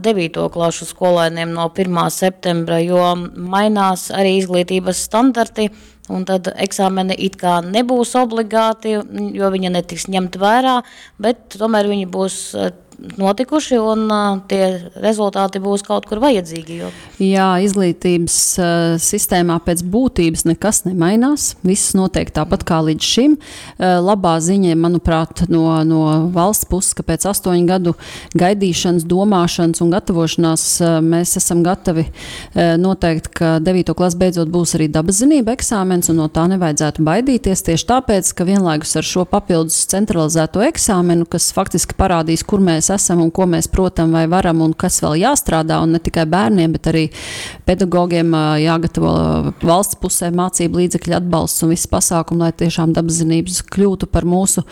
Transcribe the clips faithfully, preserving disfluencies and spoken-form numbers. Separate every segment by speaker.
Speaker 1: devīto klašu skolēniem no pirmā septembra, jo mainās arī izglītības standarti, un tad eksāmeni it kā nebūs obligāti, jo viņi netiks ņemt vērā, bet tomēr viņi būs notikuši un tie rezultāti būs kaut kur vajadzīgi. Jo...
Speaker 2: Jā, izglītības sistēmā pēc būtības nekas nemainās. Viss notiek tāpat kā līdz šim. Labā ziņa, manuprāt, no, no valsts puses, ka pēc astoņu gadu gaidīšanas, domāšanas un gatavošanās mēs esam gatavi noteikt, ka devīto klasi beidzot būs arī dabas zinība eksāmens un no tā nevajadzētu baidīties. Tieši tāpēc, ka vienlaikus ar šo papildus centralizēto eksāmenu, kas faktiski parādīs, kur mēs esam un ko mēs protam vai varam un kas vēl jāstrādā, un ne tikai bērniem, bet arī pedagogiem jāgatavo valsts pusē mācību līdzekļu atbalsts un visi pasākumi, lai tiešām dabas zinības kļūtu par mūsu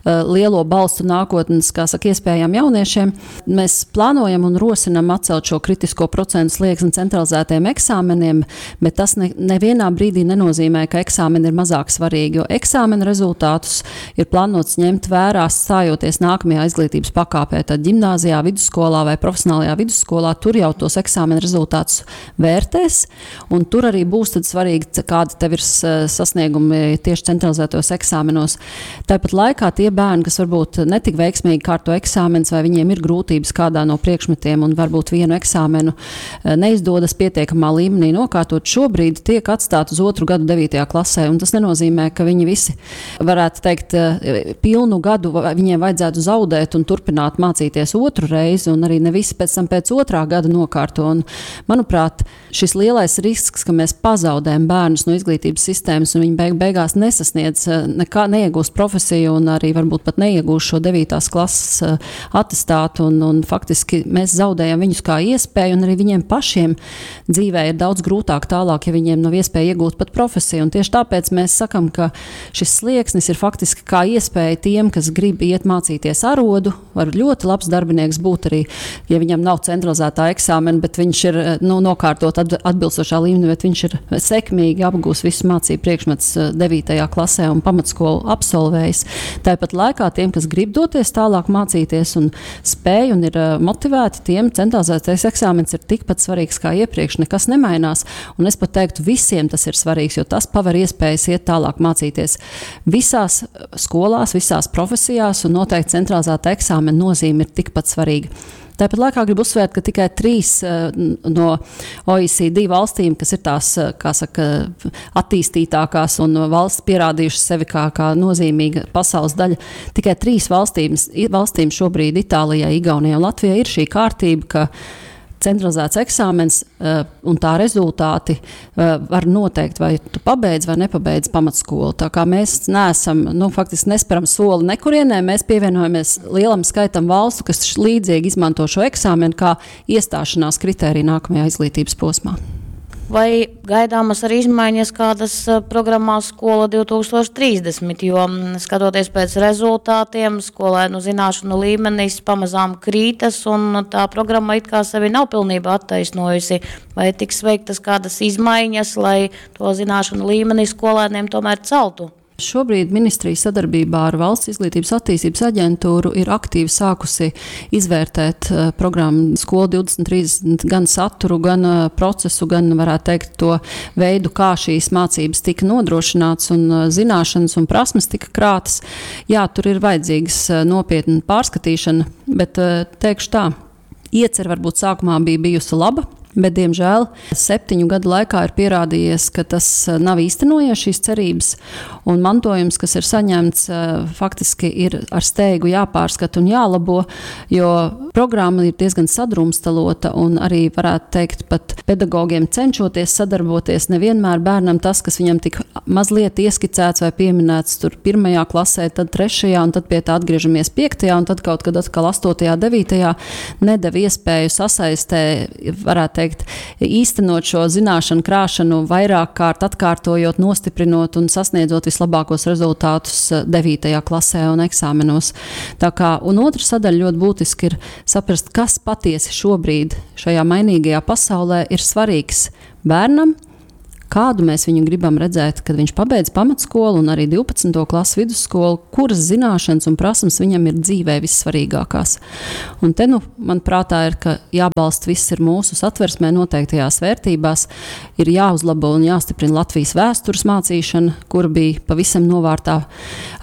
Speaker 2: lielo balstu nākotnes, kā saka, iespējām jauniešiem. Mēs plānojam un rosinam atcelt šo kritisko procentu slieksni centralizētajiem eksāmeniem, bet tas ne, nevienā brīdī nenozīmē, ka eksāmeni ir mazāk svarīgi, jo eksāmenu rezultātus ir plānots ņemt vērā stājoties nākamajā izglītības pakāpē. Tad ģimnāzijā, vidusskolā vai profesionālajā vidusskolā, tur jau tos eksāmena rezultātus vērtēs, un tur arī būs tad svarīgi, kādi tev ir sasniegumi tieši centralizētos eksāmenos. Tāpat laikā tie bērni, kas varbūt netik veiksmīgi kārto eksāmenus, vai viņiem ir grūtības kādā no priekšmetiem un varbūt vienu eksāmenu neizdodas pietiekamā līmenī nokārtot, šobrīd tiek atstāti uz otru gadu devītajā klasē, un tas nenozīmē, ka viņi visi, varētu teikt, pilnu gadu viņiem vajadzētu zaudēt un turpināt mācīties otru reizi, un arī ne visi pēc tam pēc otrā gada nokārto. Un, manuprāt, šis lielais risks, ka mēs pazaudējam bērnus no izglītības sistēmas un viņi beig beigās nesasniedz, nekā, neiegūst profesiju un arī varbūt pat neiegūst šo devītās klases atestātu, un, un faktiski mēs zaudējam viņus kā iespēju, un arī viņiem pašiem dzīvē ir daudz grūtāk tālāk, ja viņiem nav iespēja iegūt pat profesiju. Un tieši tāpēc mēs sakam, ka šis slieksnis ir faktiski kā iespēja tiem, kas grib iet mācīties arodu, var ļoti labs darbinieks būt arī, ja viņam nav centralizētā eksāmena, bet viņš ir, nu, nokārtot atbilstošā līmenī, bet viņš ir sekmīgi apgūs visus mācību priekšmetus devītajā klasē un pamatskolu absolvējis. Tāpat laikā tiem, kas grib doties tālāk mācīties un spēj un ir motivēti, tiem centralizētais eksāmens ir tikpat svarīgs kā iepriekš, nekas nemainās. Un es pat teiktu, visiem tas ir svarīgs, jo tas paver iespējas iet tālāk mācīties visās skolās, visās profesijās, un noteikti centralizēta eksāmena nozīme ir tikpat svarīga. Tāpat laikā gribu uzsvērt, ka tikai trīs no O E C D valstīm, kas ir tās, kā saka, attīstītākās un valsts pierādījušas sevi kā, kā nozīmīga pasaules daļa, tikai trīs valstīm, valstīm šobrīd, Itālijai, Igaunijai un Latvijai, ir šī kārtība, ka centralizēts eksāmens un tā rezultāti var noteikt, vai tu pabeidz vai nepabeidz pamatskolu. Tā kā mēs neesam, nu, faktiski nesperam soli nekurienē, mēs pievienojamies lielam skaitam valstu, kas līdzīgi izmanto šo eksāmenu kā iestāšanās kritēriju nākamajā izglītības posmā.
Speaker 1: Vai gaidāmas arī izmaiņas kādas programmā Skola divtūkstoš trīsdesmit, jo skatoties pēc rezultātiem, skolēnu zināšanu līmenis pamazām krītas un tā programma it kā sevi nav pilnībā attaisnojusi. Vai tiks veiktas kādas izmaiņas, lai to zināšanu līmeni skolēniem tomēr celtu?
Speaker 2: Šobrīd ministrija sadarbībā ar Valsts izglītības attīstības aģentūru ir aktīvi sākusi izvērtēt, eh, programmu Skola divdesmit trīsdesmit gan saturu, gan, eh, procesu, gan, varētu teikt, to veidu, kā šīs mācības tika nodrošināts un, eh, zināšanas un prasmes tika krātas. Jā, tur ir vajadzīgas, eh, nopietna pārskatīšana, bet, eh, teikšu tā, iecer varbūt sākumā bija bijusi laba, bet, diemžēl, septiņu gadu laikā ir pierādījies, ka tas, eh, nav īstenojies šīs cerības, un mantojums, kas ir saņemts, eh, faktiski ir ar steigu jāpārskata un jālabo, jo programma ir diezgan sadrumstalota, un arī, varētu teikt, pat pedagogiem cenšoties sadarboties, nevienmēr bērnam tas, kas viņam tik mazliet ieskicēts vai pieminēts tur pirmajā klasē, tad trešajā, un tad pie tā atgriežamies piektajā, un tad kaut kad atkal astotajā, devītajā, nedeva iespēju sasaistē, varētu teikt, īstenot šo zināšanu krāšanu vairāk kārt atkārtojot, nostiprinot un sasniedzot vislabākos rezultātus, eh, devītajā klasē un eksāmenos. Tā kā, un otra sadaļa ļoti būtiski ir saprast, kas patiesi šobrīd šajā mainīgajā pasaulē ir svarīgs bērnam, Kādu mēs viņu gribam redzēt, kad viņš pabeidz pamatskolu un arī divpadsmito klasu vidusskolu, kuras zināšanas un prasmes viņam ir dzīvē vissvarīgākās. Un te, nu, man prātā ir, ka jābalsta viss ir mūsu satversmē noteiktajās vērtībās, ir jāuzlabo un jāstiprina Latvijas vēstures mācīšana, kura bija pavisam novārtā.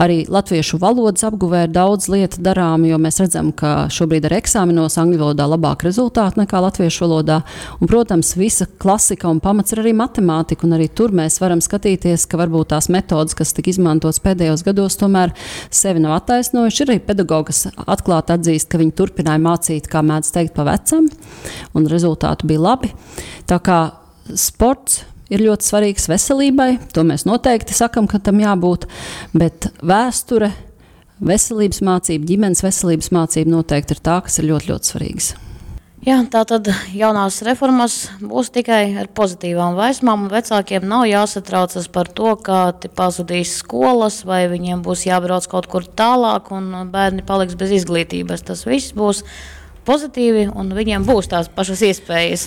Speaker 2: Arī latviešu valodas apguvē ir daudz lietu darām, jo mēs redzam, ka šobrīd ar eksāmenos angļu valodā labāk rezultāti nekā latviešu valodā. Un, protams, visa klasika un pamats ir arī matemātika, un arī tur mēs varam skatīties, ka varbūt tās metodas, kas tika izmantotas pēdējos gados, tomēr sevi nav attaisnojuši. Ir arī pedagogi, kas atklāti atzīst, ka viņi turpināja mācīt, kā mēdz teikt, pa vecam, un rezultāti bija labi. Tā kā sports ir ļoti svarīgs veselībai, to mēs noteikti sakam, ka tam jābūt, bet vēsture, veselības mācība, ģimenes veselības mācība noteikti ir tā, kas ir ļoti, ļoti svarīgas.
Speaker 1: Jā, tā tad jaunās reformas būs tikai ar pozitīvām vēsmām, un vecākiem nav jāsatraucas par to, ka te pazudīs skolas vai viņiem būs jābrauc kaut kur tālāk un bērni paliks bez izglītības. Tas viss būs pozitīvi un viņiem būs tās pašas iespējas.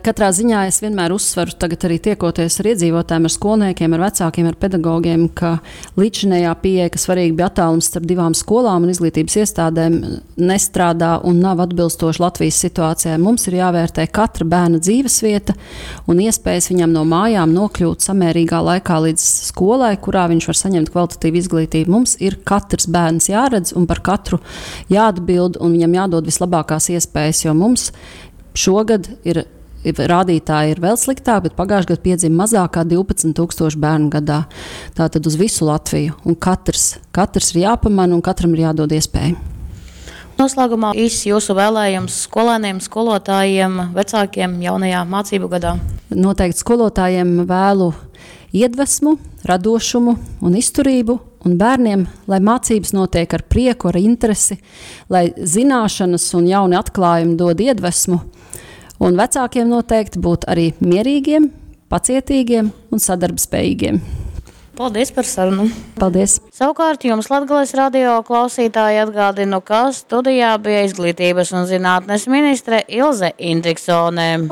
Speaker 2: Katrā ziņā es vienmēr uzsveru, tagad arī tiekoties ar iedzīvotājiem, ar skolniekiem, ar vecākiem, ar pedagogiem, ka līdzinējā pieeja, ka svarīgi bija attālums starp divām skolām un izglītības iestādēm, nestrādā un nav atbilstoši Latvijas situācijai. Mums ir jāvērtē katra bērna dzīvesvieta un iespējas viņam no mājām nokļūt samērīgā laikā līdz skolai, kurā viņš var saņemt kvalitatīvu izglītību. Mums ir katrs bērns jāredz un par katru jāatbild un viņam jādod vislabākās iespējas, jo mums šogad ir rādītāji ir vēl sliktāk, bet pagājušajā gadā piedzima mazāk kā divpadsmit tūkstoši bērnu gadā. Tātad uz visu Latviju. Un katrs, katrs ir jāpamana un katram ir jādod iespēja.
Speaker 1: Noslēgumā īss jūsu vēlējums skolēniem, skolotājiem, vecākiem jaunajā mācību gadā.
Speaker 2: Noteikti skolotājiem vēlu iedvesmu, radošumu un izturību, un bērniem, lai mācības notiek ar prieku, ar interesi, lai zināšanas un jauni atklājumi dod iedvesmu, un vecākiem noteikti būt arī mierīgiem, pacietīgiem un sadarbspējīgiem.
Speaker 1: Paldies par sarunu.
Speaker 2: Paldies.
Speaker 1: Savukārt jums Latgales radio klausītāji atgādinu, ka studijā bija izglītības un zinātnes ministre Ilze Indriksone.